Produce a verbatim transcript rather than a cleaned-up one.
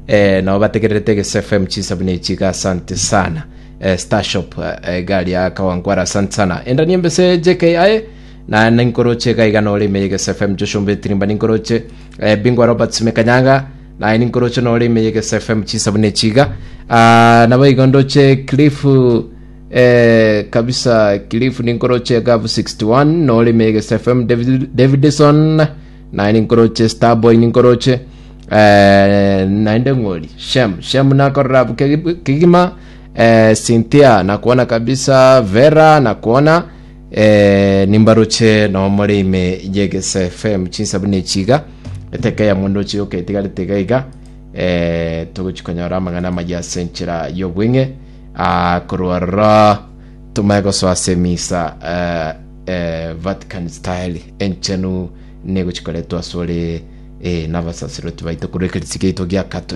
eh, nabo bategererete Egese F M chinsabu nechiga. Asante sana, eh, Starshop, eh, gari ya Kawangwara, asante sana. Enda niembese J K aye na ninkoroche iga iga nore ime Egese F M. Joshua Mbetirimba ninkoroche, eh, Bingwa Robert Simekanyanga naye ninkoroche nore ime Egese F M chinsabu nechiga. Ah, nabo igo ndoche Cliff, eh, kabisa Cliff ninkoroche gavu sixty-one nore ime Egese F M. David, Davidson naye ninkoroche, Starboy ninkoroche, eh, naende ng'ori Shem Shem nakorora abu kegima, eh, Cynthia nakuona kabisa, Vera nakuona, eh, nimbaroche nomore ime Yegese F M chinsabu nechiga eteke ya mondo chiyoka etigarete iga iga, eh, togochikonyora amang'ana amaya ase enchera y'obweng'e. Ah, korwa roro tumae gosoa ase emisa, eh, eh, Vatican style enchenu negochikoretwa asore, eh, n'abasasiroti baito korwa ekerisi giaito gia Catholic.